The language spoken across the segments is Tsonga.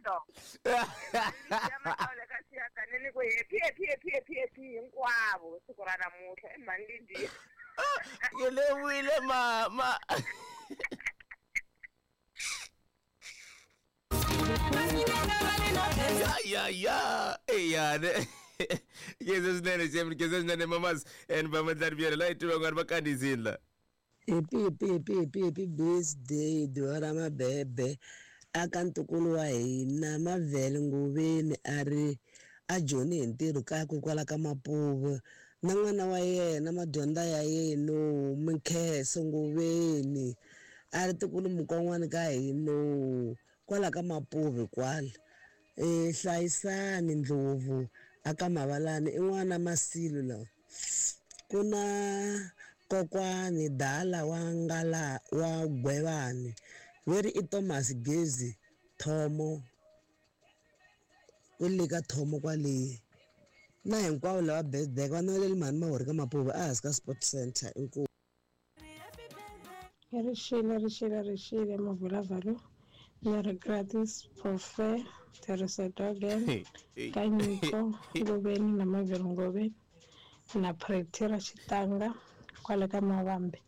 dog. Ya Makaule ka Xiyakane ni ku happy happy happy happy happy hinkwavo siku ra namuntlha i mhani Lidiya. Ke lebohile mama. Ya ya ya eyane. Khensa swinene Jemni, khensa swinene mamas and vamadlari byele la hi tiva ku va kandziyisile la. Happy happy happy happy happy birthday duvha ra mabebe aka ntukulu wa hina Mavhele Nguveni a ri a joni hi ntirho kakwe kwala ka Mapuve na n'wana wa yena madyondza ya yeno Minkheso Nguveni a ri tikulu mukon'wana ka hino kwala ka Mapuve kwala e Hlayisani Ndlovu aka Mavalani i n'wana Masilo lawa ku na kokwani Dala wa ngala wa Gwevani veri i Thomas Gezi Thomo u le ka Thomo kwale na hinkwavo lava birthday va naveleli mhani Mahori ka Mapuve ehansi ka Sport Center inkomu. Rixile rixile rixile mavulavalo ni ri gratis profe tirhisa dogen ka nyiko Ngoveni na Mavhelo Ngoveni na Pretty ra Xitanga kwale ka Mavambe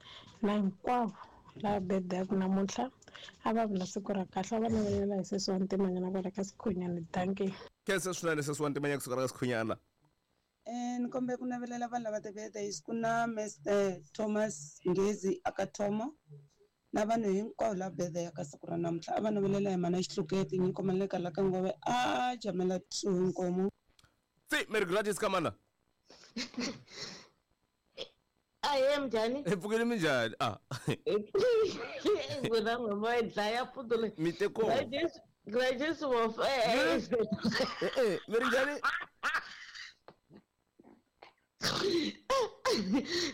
na hinkwavo lava birthday namuntlha a va vi na siku ra kahle a va navelela hi sesi wa Ntimanyana kwale ka Sikhunyana dankie. Khensa swinene sesi wa Ntimanyana kusuka ka Sikhunyana. Ni kombela ku navelela vanhu lava ti-birthdays ku na Mr Thomas Ngezi aka Thomo na vanhu hinkwavo lava birthday ka siku ra namuntlha a va navelela hi mhana Xihluketi nyiko maleka la ka Ngove a jamela two inkomu. Tsi Mary Gladys ka mana. Ahee minjhani? Hi pfukile minjhani? Ah. N'wina n'we ma yi dlaya futi leyi. Mi te ko. Gladys Gladys wo Eh eh, mi ri njhani?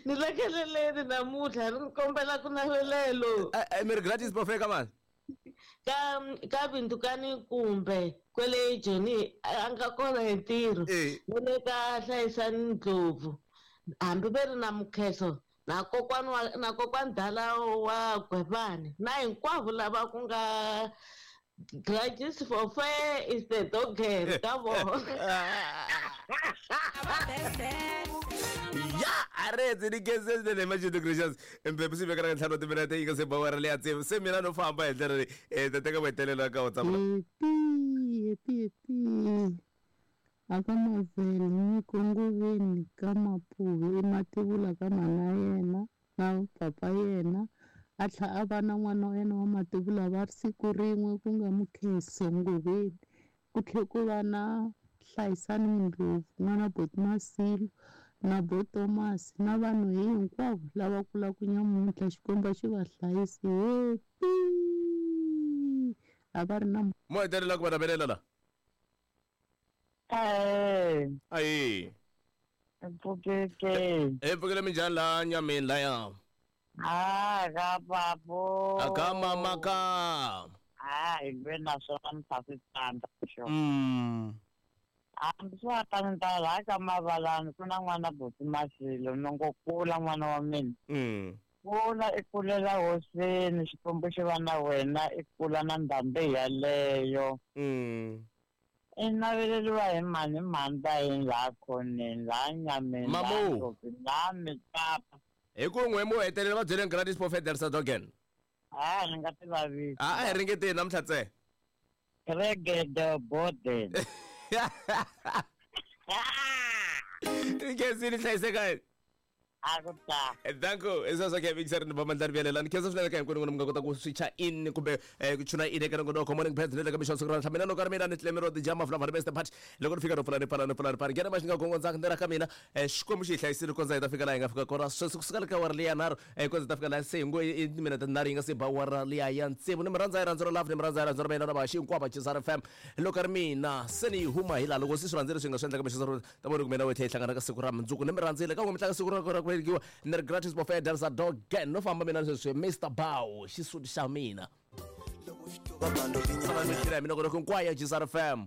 Ni le keleleni namuntlha ni kombela ku navelelo. Eh eh, Mary Gladys Bofeka mani. Ka ka Vindukani kumbe kwele Joni a nga kona hi ntirho. Ni le ka Hlayisani Ndlovu hambi ve ri na Mukheso na kokwani wa na kokwani Dala wa Gwevani na hinkwavo lava ku nga Gladys for fair is the dog ka vona. Ya aretse ni khense swinene Majudu Gracious mphephu swi veka na ntlhanu wa timinete yi nga se ba awara leya tsevu se mina no famba hi ndlela leyi eh ta teka mahetelelo ka WhatsApp la. Happy happy happy aka Mavhele nyiko Ngoveni ka Mapuve i mativula ka mhana yena na papa yena a tlha a va na n'wana wa yena wa mativula va ri siku rin'we ku nga Mukheso Ngoveni ku tlhe ku va na Hlayisani Ndlovu n'wana Boti Masilo na Bo Thomas na vanhu hinkwavo lava kulaka nyamuntlha Xikwembu a xi va hlayisi happy a va ri na Mo hetelela ku va navelela la. Ahee. Ahee. Mpfukeke. Hi pfukile minjhani laha nyameni laya? Ah, ka papo. Aka mama ka. Ah, hi lwe na swona ni ta swi tsandza xo. Hambi swa ta ni ta laha ka Mavalani ku na n'wana buti Masilo ni ngo kula n'wana wa mina. Kula i kulela hosini Xikwembu xi va na wena i kula na ndhambi yaleyo. I naveleriwa hi mhani mhani ta yini laha khoneni laha nyameni laha Mamu. ndlopfini laha mitsapa. Hi ku n'we mo hetelela va byeleni Gladys Pofeder Sadogen. Ah, ni nga ti vavisi. A a hi ringeteni namuntlha tse. Regede boden. Ni khensile hlayiseka. A ku ta. Danko, i sweswo ke mixer ni vamandla ri Ni khensa swinene ka hinkwenu n'wina mi nga kota ku swicha in kumbe ku tuna in eka nongonoko morning birds ni le ka mixo siku ra namuntlha. Mina loko ri mina ni Clemmy Rodi Jama Flava the best part. Loko ni fika no pfula ni pfala ni pfula ni pfala. Nghena maxi nga gongondzaka ni ra ka mina. Xikwembu xi hi hlayisile kondza hi ta fika laha hi nga fika kona. Sweswi kusuka le ka awara liya nharhu kondza hi ta fika laha se hi ngo i timinete tinharhu yi nga se ba awara liya ya tsevu. Ni mi rhandza hi rhandzu ra love, ni mi rhandza hi rhandzu ra mina na vahaxi hinkwavo va Chisara FM. Loko ri mina se ni yi huma hi laha loko se swi rhandzile swi nga swi endlaka mixo ta vona ku mina wethe hi hlangana ka siku ra mundzuku ni mi rhandzile ka n'we mi tlanga siku ra ra ku velekiwa ni ri gratis buffet dansa dogen no famba mina sweswi Mr Bow xisuti xa mina. Loko xi mina loko hinkwayo Chisara FM.